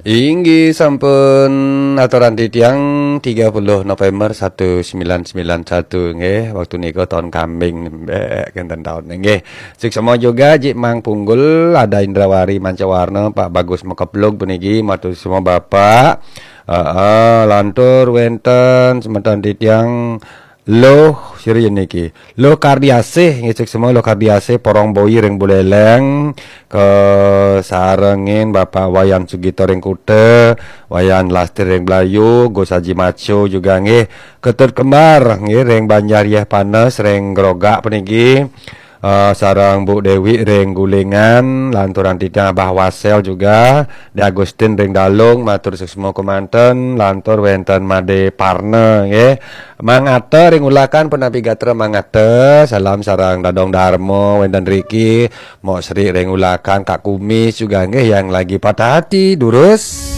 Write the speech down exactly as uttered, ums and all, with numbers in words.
Inggih sampun aturan titiang tiga puluh November satu sembilan sembilan satu nggih. Waktu nika tahun kambing nembek kenten taun nggih. Suksma juga Jik Mang Punggul, ada Indrawari Mancawarna, Pak Bagus Mekeplug puniki, matur semua Bapak. Heeh, lantur wenten semeton titiang Luh siri niki. Luh Kardiasih, ngecek semua Luh Kardiasih, Porong Boyi ring Buleleng, ke sarengin Bapak Wayan Sugito ring Kuta, Wayan Lastir ring Blayu, Gus Haji Maco juga nggih, Ketut Kembar nggih ring Banjar Yeh Panes ring Grogak puniki. Eh, sareng Bu Dewi ring Gulingan, lanturan titiang Abah Wasel juga, Di Agustin ring Dalung, matur suksma kemanten, lantur wenten Made Parna nggih. Mang Ata ring Ulakan punapi gatra Mang Ata, salam sareng Dadong Darma wenten riki, Mok Sri ring Ulakan, Kak Kumis juga nggih yang lagi patah hati, durus.